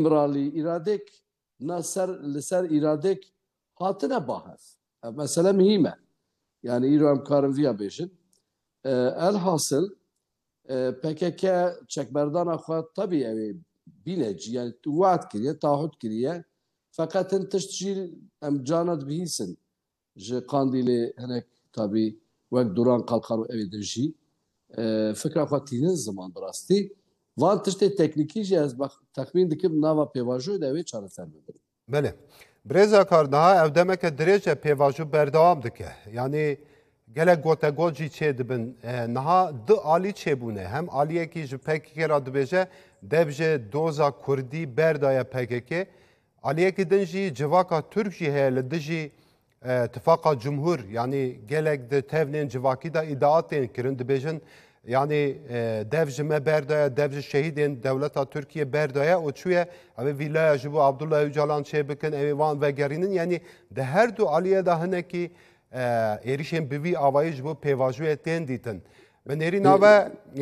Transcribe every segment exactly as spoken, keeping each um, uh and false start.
Îmralî îradek na ser, li ser îradek hatine ba hev. Ev mesele muhîm e. Yani îro em karin viya bêjin. E, elhasil, e, P K K çekberdana xwe tabii ew ê bîne cî, yani we'd kiriye, taahhüt kiriye. Feqet hin tişt jî em carna dibihîsin. Ji Qandîlê hinek tabii wek Duran Kalkan û ew ê din jî, e, fikra xwe tînin ziman bi rastî. Van tiştê teknîkî jî ez bex-, texmîn dikim nava pêvajoyê de ew ê çareser bibin. Belê. Birêz Akar, niha ev demeke dirêj e pêvajo berdewam dike. Yanî gelek gotegot jî çê dibin. E, niha du alî çêbûne. Hem aliyekî ji P K K re dibêje, dev ji doza Kurdî berdaye P K K. Aliyekî din jî civaka Tirk jî heye li dijî, e, Tifaqa Cumhur, yanî gelek di tevnên civakî de îdia tên kirin, dibêjin, yanî, e, dev ji me berdaye, dev ji şehîdên dewleta Tirkiye berdaye û çûye ew ê vîlaya ji bo Abdullah Ocalan çêbikin, ew ê wan vegerînin. Yanî di her du aliyê de hinekî, e, êrîşên bi vî avayî ji bo pêvajoyê tên dîtin. Bi nêrîna Ê- ve,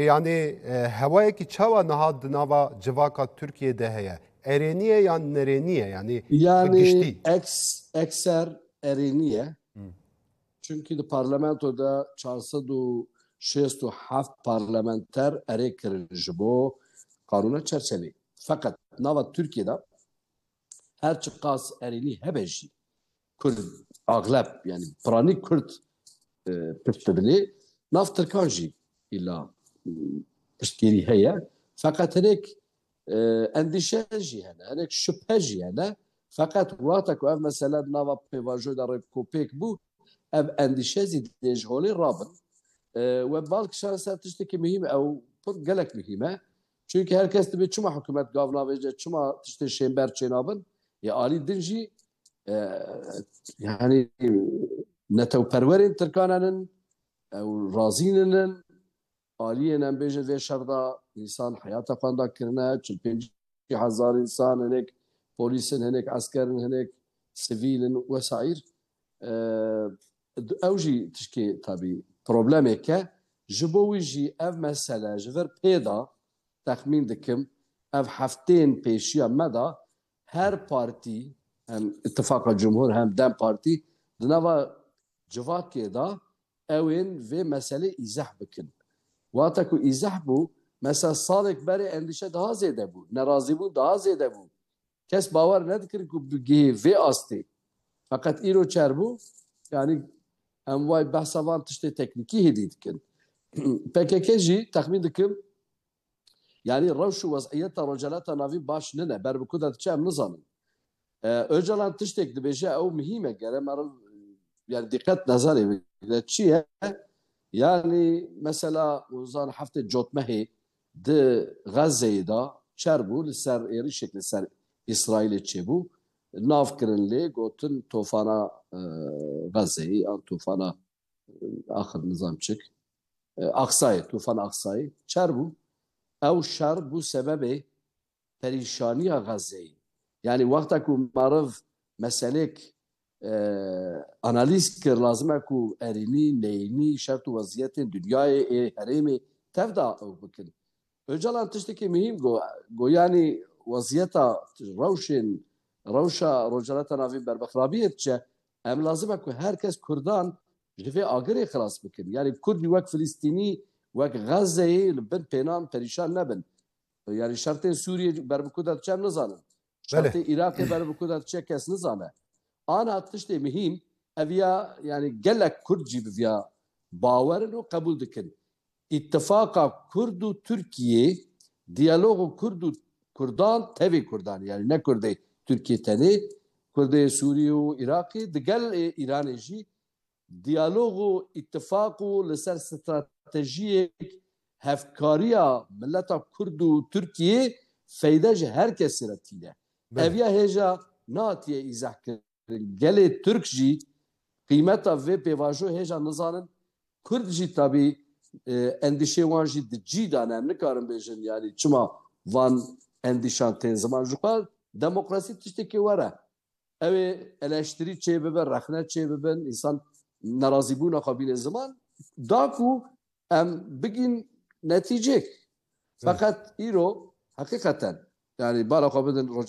yanî, e, hewayekî çawa niha di nava civaka Tirkiye de heye? Erênî ye yan nerênî ye? Yanî bi Yani giştî. eks-, ekser erênî ye. Hı. Çünkü di parlamento de çar sed û şêst û heft parlamenter erê kirin ji bo kanûna çerçevê. Feqet nava Tirkiye de her çiqas erênî hebe jî, Kurd, axleb, yani piranî Kurd, e, pişt dibinê, nav Tirkan jî îla, e, piştgirî heye. Feqet hinek, e, endîşe jî hene, hinek şüphe jî hene. Feqet wexta ku ev mesele di nava pêvajoyê de rêkopêk bû, ev endîşe zî dê ji holê rabin. E, we bal kişand ser tiştekî muhîm, ew pir gelek muhîm e. Çünkü her kes dibê çima hikûmet gav navêje, çima tiştê şênber çênabin? Ya alî din jî, e, yani netewperwerên Tirkan henin, ew razî ninin, aliyên em bêjin vê şer de însan heyata xwe da kirine, çil pêncî hezar însan, hinek polîs in, hinek esker in, hinek sivîl in wesaîr. E, ew jî tişkê tabî problemek e. Ji bo wî jî ev mesele ji vir pê de texmîn dikim, ev hefteyên pêşiya me de her partî, hem Îtifaqa Cumhur hem DEM Partî, di nava civakê de ew ên vê meselê îzeh bikin. Wata ku îzeh bû, mesela salek berê endîşe daha zêde bû, nerazîbûn daha zêde bû. Kes bawer nedikirin ku bigihê vê astê. Feqet îro çer bû, yani em way behsa van tiştê teknîkî hêdî dikin. P K K jî texmîn dikim, yani rewş û weziyeta Rojhilata Navîn baş nine, ber bi ku de diçe em nizanin. E, Ocalan tiştek dibêje, ew muhîm e, gere meriv, yani diqet nezerê bigire. Çi ye? Yani mesela, uzan heftê cotmehê di Xezzeyê de çer bû, li ser êrişek li ser Îsraîlê çêbû. Nav kirin lê, gotin tofana, e, Xezzeyê, an tofana, e, axir nizam çik, e, Aksayê, tofana Aksayê çer bû. Ew şer bû sebebê perîşaniya Xezzeyê. Yani wexta ku meriv meselêk, e, analîz kir, lazim e ku erênî, neyînî, şert û weziyetên dinyayê, ê herêmê tev de ew bikin. Ocalan tiştekî muhîm got, got, yani weziyeta rewşên, rewşa Rojhilata Navîn berbixrabiyê diçe, em lazim e ku her kes Kurdan ji vê agirê xilas bikin. Yani Kurdî wek Filistînî, wek Xezzeyê li bin pênan perîşan nebin. Yani şertên Sûriyê ber bi ku de diçe em nizanin. Belê. Şertê Iraqê ber bi ku de diçe kes nizane. Ana tiştê muhîm, ev ya, yani gelek Kurd jî bi viya bawer in û qebûl dikin. Îtifaqa Kurd û Tirkiyê, diyalogu Kurd û Kurdan, tevê Kurdan, yani ne Kurdê Tirkiyê tenê, Kurdê Sûriyê û Iraqê, digel ê Îranê jî diyalog û îtifaq û li ser stratejiyek hevkariya mileta Kurd û Tirkiyê feyde ji her kesî re tîne. Belê. Ev ya hêja nehatiye îzehkirin. Gelê Tirk jî qîmeta vê pêvajo hêja nizanin. Kurd jî tabî, e, endîşê wan jî di cî de ne. Em nikarin bêjin, yani çima van endîşan tên ziman. Ji xwe demokrasî tiştekî were. Ew ê eleştirî çê bibe, rexne çê bibin, însan nerazîbûna xwe bîne ziman, da ku em bigîn netîcek. Evet. Feqet îro heqîqeten, yani bala xwe bidin Rojhilata